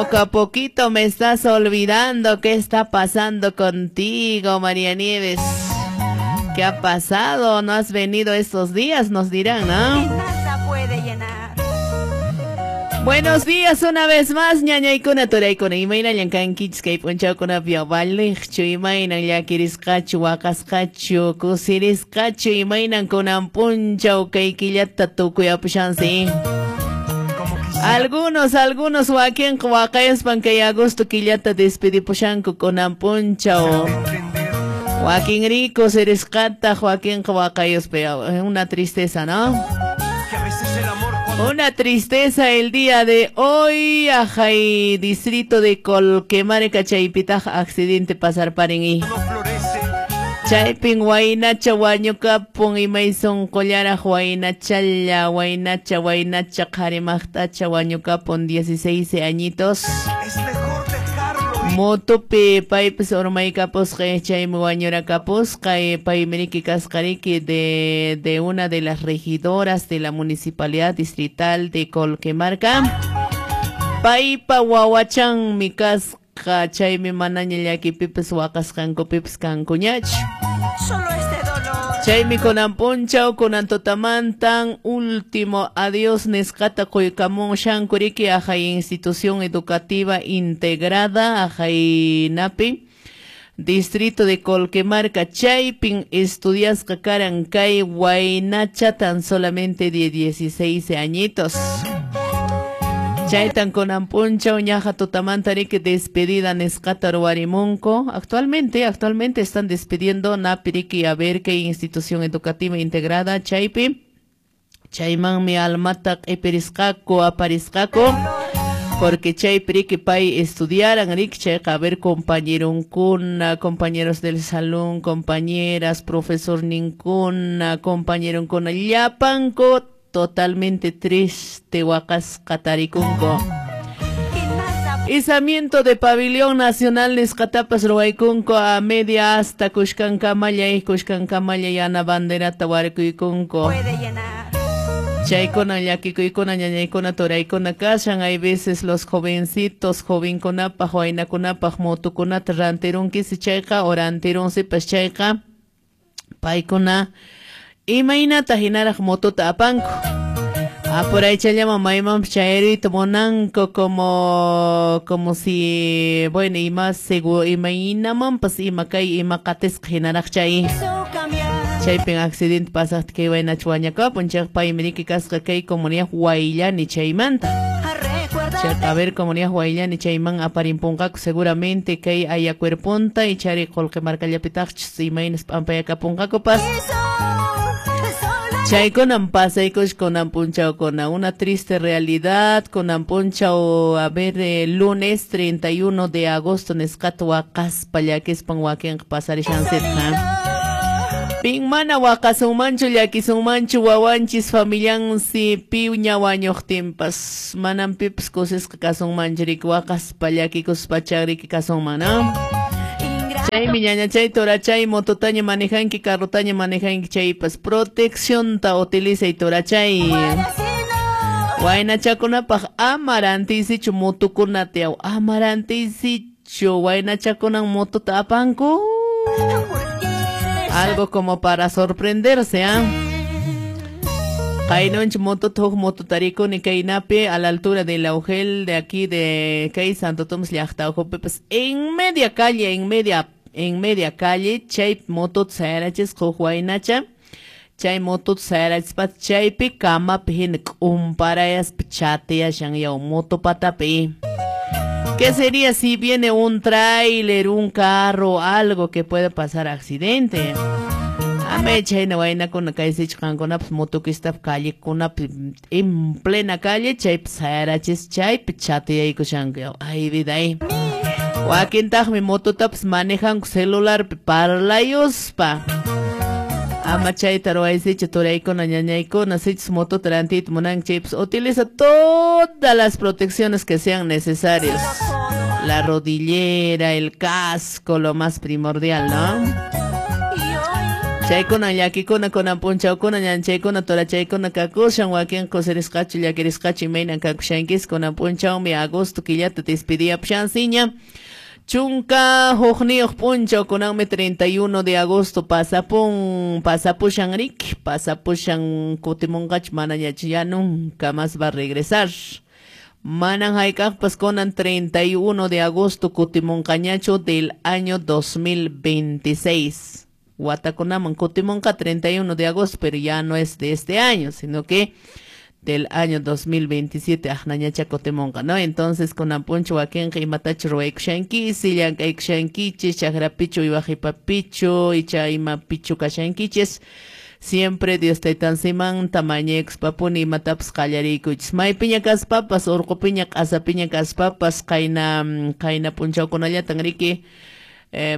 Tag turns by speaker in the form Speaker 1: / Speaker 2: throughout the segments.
Speaker 1: Poco a poquito me estás olvidando. ¿Qué está pasando contigo, María Nieves? ¿Qué ha pasado? ¿No has venido estos días? Nos dirán, ¿no?
Speaker 2: Nada puede llenar.
Speaker 1: Buenos días una vez más, ñañaykuna, turaykuna, imaynallan kankichis kay p'unchawkunapi valiqchu, imaynan llakirisqachu, waqasqachu, kusirisqachu, imaynan kunan p'unchaw kay killata tukuyapushansi. Algunos wakinqa waqayaspan kay agosto killata despedipushanku kunan p'unchaw. Wakinri kusirisqataq, wakinqa waqayaspa, una tristeza, ¿no? Una tristeza el día de hoy, ajay, distrito de Colquemarca, chaypitaj accidente pasar paren. Chaypin waynacha wañukapun imay sunqullaraq waynachalla, waynacha, waynacha, qharimaqtacha wañukapun 16 añitos. Motopi paypis urmaykapusqa chaymi wañurakapusqa, paymi riki kasqariki de una de las regidoras de la municipalidad distrital de Colquemarca. Paypa wawachanmi kasqa, chaymi manaña llakipipis waqasqankupipis kankuñachu.
Speaker 2: Solo este dolor.
Speaker 1: Chaymi kunan p'unchaw, kunan tutamantan último adiós nisqata quykamun shankuriki ajay institución educativa integrada ajaynapi distrito de Colquemarca, chaypin estudiasqa karan kay waynacha tan solamente de 16 añitos. Chaytan kunan p'unchaw ñaja tutamanta riki despedida nisqata ruwarimunku. Actualmente están despidiendo napi riki a ver qué institución educativa integrada chaypi. Chaymanmi almata q'ipirisqaku, aparisqaku, porque chaypi riki pay estudiaran riki chayqa a ver compañeronkuna, compañeros del salón, compañeras, profesor ninkuna, compañeronkuna, llapanku totalmente triste waqasqa tarikunku. Izamiento de pabellón nacional nisqatapas ruwaykunku a media asta kushkankamalla, kushkankamalla yana banderata warkuykunku. Chaykuna llakikuykuna ñañaykuna turaykuna kashan. Hay veces los jovencitos, jovenkunapaq, waynakunapaq motokunata rantirunkisi chayqa o rantirunsipas chayqa paykuna imaynata hinaraq motota apanku. Apuraychallaman maymanpas chayruyta munanku como si, bueno, ima seguro, imaynamanpas ima kay ima qatisqa hinaraq chay. Chaypin accidente pasaqta kay waynacha wañakapun, chayqa paymi riki kasqa kay comunidad Huayllani chaymanta. Chayqa a ver comunidad Huayllani chayman aparimpunqaku seguramente kay ayacuerpunta y chari Colquemarcallapitaqchus imaynas p'ampayakapunqakupas. Chaykunan pasaykush kunan p'unchawkuna, una triste realidad kunan p'unchaw, a ver, lunes 31 de agosto nisqata waqaspa llakispan wakinqa pasarishansitqa. Pin mana waqasunmanchu llakisunmanchu wawanchis familiansi piña wañuqtinpas manan pipas kusisqa kasunmanchu riki waqaspa llakikuspa riki kasunman, ¿no? Chaymi ñañachay torachay mototaña manejanki carrotaña manejanki chaypas proteccionta utilizay torachay. Waynachakunapaq ama rantiysichu motokunata yaw, ama rantiysichu waynachakunan motota apanku. Algo como para sorprenderse, ¿ah? Qaynunch motota huk motota rikuni kaynapi a la altura de la Ugel de aquí de kay Santo Tomás llaqta uhupipas en media calle, en media calle chay motota sayarachisqa huk waynacha, chay motota sayarachispa chaypi kamapi hina k'umparayaspa chatiyashan yaw moto patapi. ¿Qué sería si viene un tráiler, un carro, algo que pueda pasar accidente? Ame chayna waynakuna kaysichu qankunapas motokistap callekunapi en plena calle chaypi sayarachis chaypi chatiyaykushanku yaw. Ay vida ay. Wakintaqmi mototapas manejanku celularpi parlayuspa. Ama chayta ruwaysichu turaykuna ñañaykuna, sichus motota rantiyta munanki chaypas utiliza todas las protecciones que sean necesarias. La rodillera, el casco, lo más primordial, ¿no? Chaykuna llakikuna kunan p'unchawkuna ñanchaykuna turachaykuna kakushan wakin kusirisqachu llakirisqachu imaynan kakushankis kunan p'unchawmi agosto killata despediyapushansiña. 11 p'unchaw kunanmi 31 de agosto pasapun pasapushan riki pasapushan kutimunqachu manañachu ya nunca más va a regresar. Manan hayk'aqpas kunan 31 de agosto kutimunqañachu del año 2026. Watakunaman kutimunqa 31 de agosto, pero ya no es de este año, sino que del año 2027 aqnañacha kutimunqa, ¿no? Entonces kunan p'unchaw wakinqa imatachu ruwaykushankichis, llank'aykushankichis, chakrapichu uywaqhipapichu, icha imapichu kashankichis. Siempre Dios taytansimanta mañaykuspapuni imatapas qallariykuchis. Maypiña kaspapas, urqupiña, q'asapiña kaspapas, qayna qayna p'unchawkunallatan riki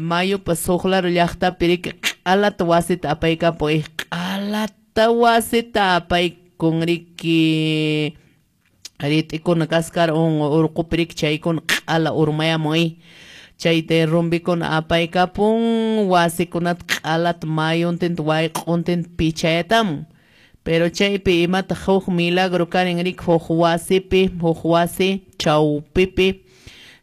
Speaker 1: mayupas huk lado llaqtapi riki q'alata wasita apaykapuy, q'alata wasita apaykun riki rit'ikuna kaskar urqupi riki chaykuna q'ala urmayamuy. Chay derrumbikuna apaykapun wasikunata q'alata mayuntinta wayq'untinta pichayatamun. Pero chaypi imataq huk milagro karin riki huk wasipi, huk wasi chawpipi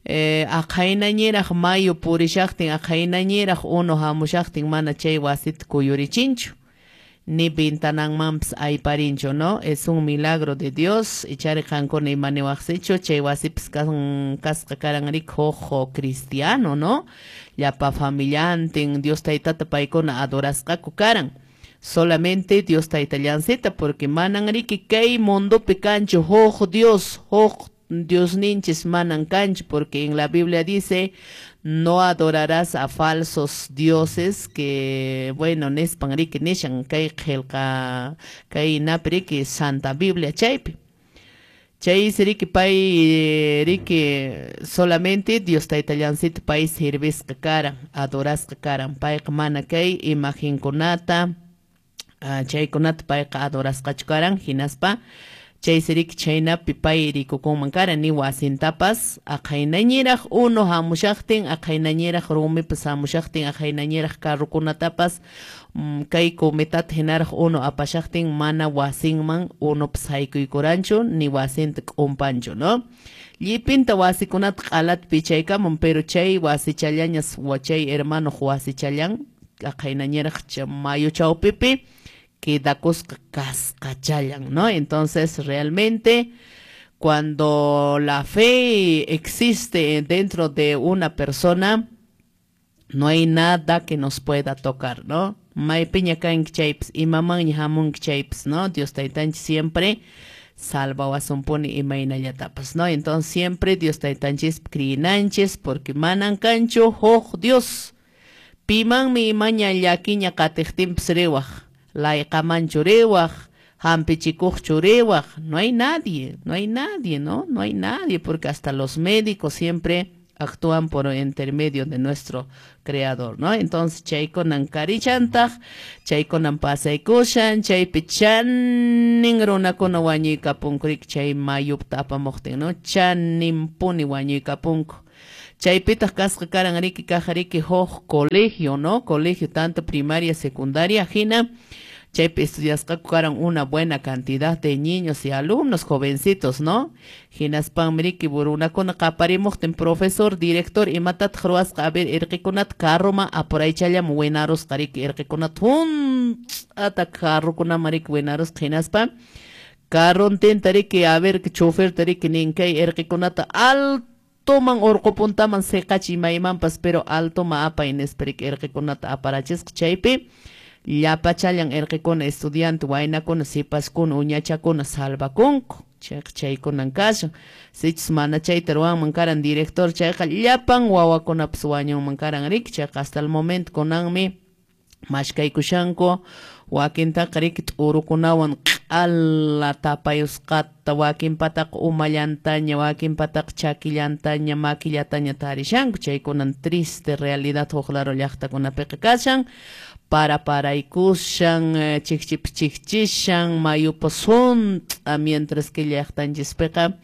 Speaker 1: aqhaynañiraq mayu purishaqtin aqhaynañiraq unu hamushaqtin mana chay wasita kuyurichinchu ni ventananmanpas ayparinchu, ¿no? Es un milagro de Dios. Ichari qankuna imaniwaqsichu chay wasipas kasqa karan riki huk cristiano, ¿no? Llapa familiantin Dios taytata paykuna adorasqaku karan. Solamente Dios taytallancita porque manan riki kay mundopi kanchu huk Dios, huk Dios ninchis manan kanchu, porque en la Biblia dice no adorarás a falsos dioses que bueno nispan riki nishan kay qillqa kay napi riki Santa Biblia chaypi. Chaysi riki pay riki solamente Dios taytallancita pay servisqa karan, adorasqa karan, payqa mana kay imagenkunata chaykunata payqa adorasqachu karan, hinaspa chaysi riki chaynapi pay rikukunman karan ni wasintapas aqhaynañiraq unu hamushaqtin, aqhaynañiraq rumipas hamushaqtin, aqhaynañiraq carrukunatapas kay cometata hinaraq unu apashaqtin mana wasinman unupas haykuykuranchu ni wasinta k'umpanchu, ¿no? Llipinta wasikunata q'alata pichaykamun, pero chay wasichallañas chay hermano wasichallan aqhaynañiraq mayu chawpipi quedakusqa kasqachallan, ¿no? Entonces realmente cuando la fe existe dentro de una persona, no hay nada que nos pueda tocar, ¿no? Maypiña kanki chaypas, imamanña hamunki chaypas, ¿no? Dios taytanchis siempre salvawasunpuni imaynallatapas, ¿no? Entonces siempre Dios taytanchis criyinanchis porque manan kanchu huk Dios. Pimanmi imaña llakiña qatiqtinpas riwaq, layqamanchu riwaq, hampichikuqchu riwaq, no hay nadie, no hay nadie, ¿no? No hay nadie, porque hasta los médicos siempre actúan por intermedio de nuestro creador, ¿no? Entonces chaykunan karichantaq, chaykunan pasaykushan, chaypi chanin runakuna wañuykapunku riki chay mayupta apamuqtin, ¿no? Chaninpuni wañuykapunku. Chaypitaq kasqa karan riki kaq riki huk colegio, ¿no? Colegio tanto primaria, secundaria, hina chaypi estudiasqaku karan una buena cantidad de niños y alumnos jovencitos, ¿no? Hinaspanmi riki runakuna qaparimuqtin profesor, director imatataq ruwasqa, a ver irqikunata carroma apuraychallam winarusqa riki irqikunata hunt'ata carrukunaman riki winarusqa hinaspa carrontinta riki a ver choferta riki nin kay irqikunata altoman urqupuntaman siqachiy maymanpas pero altoma apay nispa riki irqikunata aparachisqa chaypi llapachallan irqikuna estudiante waynakuna sipaskuna uñachakuna salvakunku. Chayqa chaykunan kashan. Sichus mana chayta ruwanman karan director chayqa llapan wawakunapas wañunman karan riki chayqa hasta el momento kunanmi mashkaykushanku wakintaqa riki t'urukunawan q'ala tapayusqata wakinpataqa umallantaña wakinpataqa chakillantaña makillataña tarishanku chaykunan triste realidad huk lado llaqtakunapiqa kashan. Para paraykushan, chikchipas chikchishan, mayupas hunt'a, mientras que llaqtanchispiqa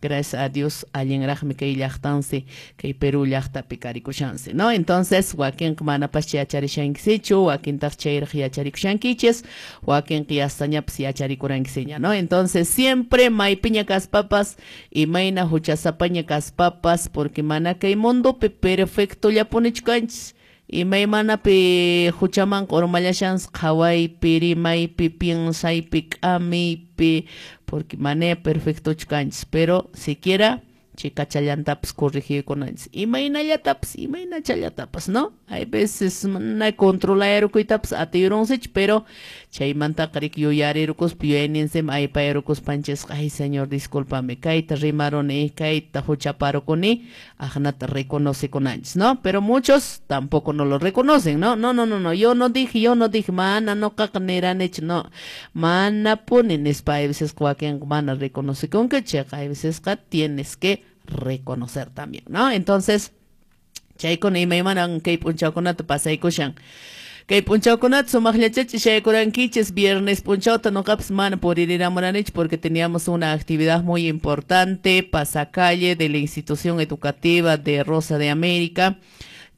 Speaker 1: Gracias a Dios allinraqmi kay llaqtansi, kay Perú llaqtapi karikushansi, ¿no? Entonces wakinqa manapas yacharishankisichu, wakintaq chayraq yacharikushankichis, wakinqa yastañapas yacharikuranquisiña, ¿no? Entonces siempre maypiña kaspapas, imayna huchasapaña kaspapas, porque mana kay mundopi perfectollapunichu kanchis. Imaymanapi huchamanqa urmallashansi qhawaypi, rimaypi, piensaypi, k'amiypi, porque mana perfectochu kanchis, pero siquiera chikachallantapas corregiykunanchis, imaynallatapas, imaynachallatapas, ¿no? Hay veces mana controlayarukuytapas atiyurunsichu, pero chaymantaqa riki yuyarirukuspa yuyayninsinmi aypayarukuspanchisqa, ay señor, discúlpame, kayta rimaruni, kayta huchaparukuni, aqnata reconocekunanchis, ¿no? Pero muchos tampoco no lo reconocen, ¿no? No, no, no, no, yo no dije, mana noqaqa niranichu, no, manapuni nispa, hay veces wakinqa mana reconocekunku, chayqa hay veces tienes que reconocer también, ¿no? Entonces, chaykuna imaymanan kay p'unchawkunata pasaykushan. Kay p'unchawkunata sumaqllachachi shaykurankichis viernes p'unchawta noqapas mana puririramuranichu porque teníamos una actividad muy importante, pasacalle de la institución educativa de Rosa de América.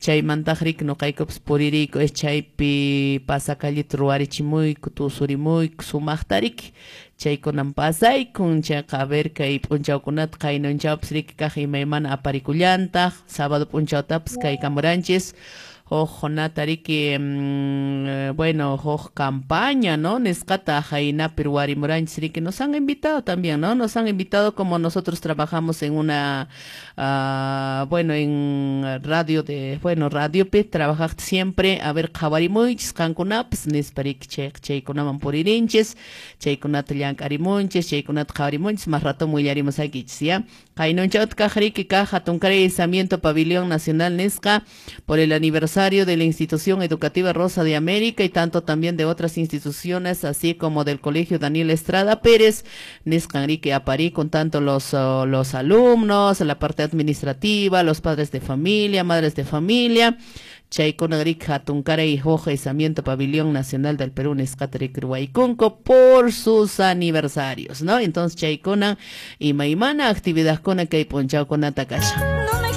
Speaker 1: Chaymantaq riki noqaykupas puririyku es chaypi pasacalleta ruwarichimuyku, tusurimuyku sumaqta riki. Chaykunan pasaykun, chayqa a ver kay p'unchawkunata qaynunchawpas riki kaq imaymana aparikullantaq, sábado p'unchawtapas kaykamuranchis huk nata riki, bueno, huk campaña, ¿no? Nisqata jaynapi ruwarimuranchis riki, nos han invitado también, ¿no? Nos han invitado como nosotros trabajamos en una, bueno, en radio de, bueno, radiopi trabajaq siempre, a ver, qhawarimuychis qankunapas nispa riki, chayqa chaykunaman puririnchis, chaykunata llank'arimunchis, chaykunata qhawarimunchis, más rato willarimusaykichis, ¿ya? Qaynunchawta kaq riki kaq hatunkaray izamiento Pabellón Nacional nisqa por el aniversario de la institución educativa Rosa de América y tanto también de otras instituciones, así como del Colegio Daniel Estrada Pérez, nisqan riki aparí con tanto los alumnos, la parte administrativa, los padres de familia, madres de familia. Chaykuna riki hatunkaray huk izamiento Pabellón Nacional del Perú nisqata riki ruwaykunku por sus aniversarios, ¿no? Entonces chaykuna imaymana actividadkuna kay p'unchawkunata kashan.